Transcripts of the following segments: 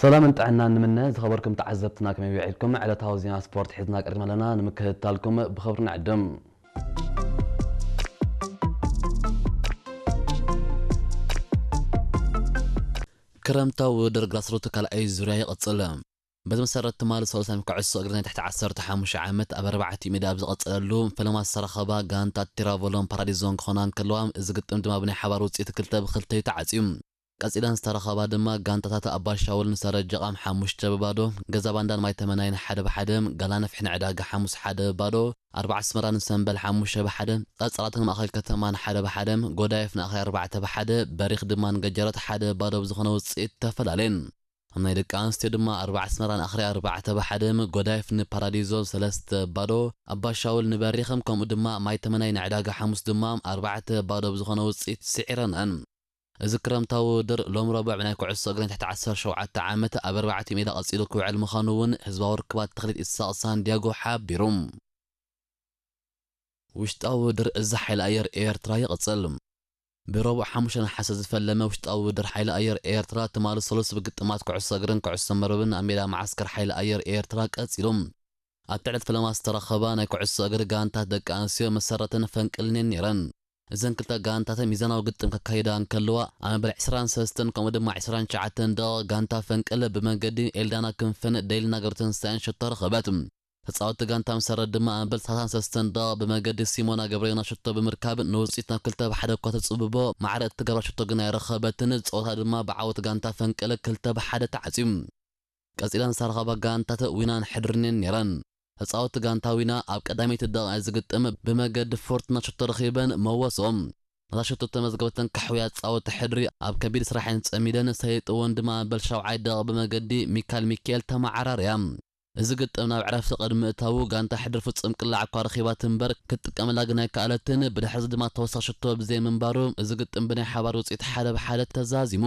ሰላምን ጥዕናን ንምነ። ዝኸበርኩም ተዓዘብትና ከመይ ውዒልኩም? ዕለታዊ ዜና ስፖርት ሒዝና ቀሪብና ኣለና። ንምክትታልኩም ብኽብሪ ንዕድም። ክረምታዊ ውድድር ግራስሩት ካልኣይ ዙርያ ይቕጽል። በዚ መሰረት ትማሊ ሰሉስ ናይ ኩዕሶ እግሪ ናይ ትሕቲ ዓሰርተ ሓሙሽተ ዓመት ኣብ ኣርባዕተ ሜዳ ኣብ ዝቐጸለሉ ፈለማ ዝተረኸባ ጋንታት ቲራቮሎን ፓራዲዞን ክኾና እንከለዋ፣ እዚ ግጥም ድማ ብናይ ሓባር ውጽኢት ክልተ ብክልተ እዩ ተዓጽዩ። ቀጺለን ዝተረኸባ ድማ ጋንታታት ኣባ ሻውልን ሰረጀቓም ሓሙሽተ ብባዶ፣ ገዛ ባንዳን ማይ ተመናይን ሓደ ብሓደ፣ ጋላ ነፍሕን ዕዳጋ ሓሙስ ሓደ ብባዶ፣ ኣርባዓ ኣስመራን ሰምበል ሓሙሽተ ብሓደ፣ ጸጸራትን ማእኸል ከተማን ሓደ ብሓደ፣ ጎዳይፍ ንኣኽሪ ኣርባዕተ ብሓደ፣ በሪኽ ድማ ንገጀረት ሓደ ብባዶ ብዝኾነ ውጽኢት ተፈላለየን። ኣብ ናይ ደቂ ኣንስትዮ ድማ ኣርባዓ ኣስመራ ንኣኽሪ ኣርባዕተ ብሓደ፣ ጎዳይፍ ንፓራዲዞ ሰለስተ ብባዶ፣ ኣባ ሻውል ንበሪኽም ከምኡ ድማ ማይ ተመናይ ንዕዳጋ ሓሙስ ድማ ኣርባዕተ ብባዶ ብዝኾነ ውጽኢት ስዒረነን። እዚ ክረምታዊ ውድድር ሎም ረቡዕ ብናይ ኩዕሶ እግሪ ናይ ትሕቲ ዓሰርተ ሸውዓተ ዓመት ኣብ ኣርባዕተ ሜዳ ቀጺሉ ክውዕል ምዃኑ እውን ህዝባዊ ርክባት ተኽሊት ኢሳቕ ሳንዲያጎ ሓቢሩ። ውሽጣዊ ውድድር እዚ ሓይሊ ኣየር ኤርትራ ይቕጽል። ብረቡዕ ሓሙሽተ ነሓሰ ዝፈለመ ውሽጣዊ ውድድር ሓይሊ ኣየር ኤርትራ ትማሊ ሰሉስ ብግጥማት ኩዕሶ እግርን ኩዕሶ መርብን ኣብ ሜዳ መዓስከር ሓይሊ ኣየር ኤርትራ ቀጺሉ። ኣብቲ ዕለት ፈለማ ዝተረኸባ ናይ ኩዕሶ እግሪ ጋንታት ደቂ ኣንስትዮ መሰረትን ፈንቅልን እየን ነይረን። እዘን ክልተ ጋንታት ሚዛናዊ ግጥም ከካይዳ እንከለዋ፣ ኣብ መበል ዕስራን ሰለስተን ከምኡ ድማ ዕስራን ትሽዓተን ደቂቕ ጋንታ ፈንቅል ብመንገዲ ኤልዳና ክንፈን ደይልና ገብረተንሳኤን ሸቶ ረኸበት። ተጻወትቲ ጋንታ መሰረት ድማ ኣብ መበል ሰላሳን ሰለስተን ደቂቕ ብመንገዲ ሲሞና ገብረዮና ሸቶ ብምርካብ ንውጽኢት ናብ ክልተ ብሓደ እኳ ተጽብቦ፣ ማዕረ እትገብራ ሸቶ ግን ኣይረኸበትን። ጸወታ ድማ ብዓወት ጋንታ ፈንቅል ክልተ ብሓደ ተዓጽዩ። ቀጺለን ዝተረኸባ ጋንታት ዊናን ሕድርን እየን ነይረን። ተጻወትቲ ጋንታ ዊና ኣብ ቀዳመይቲ ደቂቕ እዚ ግጥም ብመገዲ ፎርቱና ሸቶ ረኺበን መወስኦም። ነታ ሸቶ ተመዝገበተን ካሕውያ ጻወቲ ሕድሪ ኣብ ከቢድ ስራሕን ጸሚደን ሰይጥወን ድማ ኣብ መበል ሻውዓይ ደቂቕ ብመገዲ ሚካል ሚካኤል ተመዓራርያ። እዚ ግጥም ናብ ዕረፍቲ ቅድሚ ምእታዉ ጋንታ ሕድሪ ፍጹም ቅላዕ እኳ ረኺባት እምበር ክትጥቀመላ ግን ኣይከኣለትን። ብድሕሪ እዚ ድማ ተወሳኺ ሸቶ ብዘይ ምንባሩ እዚ ግጥም ብናይ ሓባር ውጽኢት ሓደ ብሓደ ተዛዚሙ።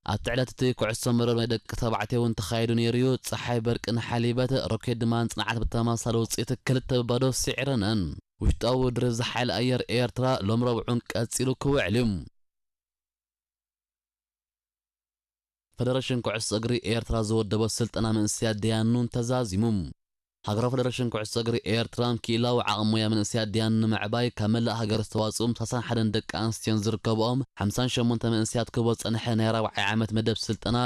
ኣብቲ ዕለት እቲ ኩዕሶ መረብ ናይ ደቂ ተባዕትዮ እውን ተኻይዱ ነይሩ እዩ። ጸሓይ በርቅን ሓሊበት፣ ሮኬት ድማ ንጽንዓት ብተመሳሳሊ ውጽኢት ክልተ ብባዶ ስዒረነን። ውሽጣዊ ውድድር እዚ ሓይሊ ኣየር ኤርትራ ሎም ረቡዕ እውን ቀጺሉ ክውዕል እዩ። ፈደረሽን ኩዕሶ እግሪ ኤርትራ ዝወደቦ ስልጠና መንእሰያት ደያኑን ተዛዚሙ። ሃገራዊ ፈደረሽን ኩዕሶ እግሪ ኤርትራ ክኢላዊ ዓቕሚ ሞያ መንእሰያት ደያኑ ንምዕባይ ካብ መላእ ሃገር ዝተዋጽኡ ሰላሳን ሓደን ደቂ ኣንስትዮን ዝርከብኦም ሓምሳን ሸሞንተ መንእሰያት ክህቦ ዝጸንሐ ናይ ራብዓይ ዓመት መደብ ስልጠና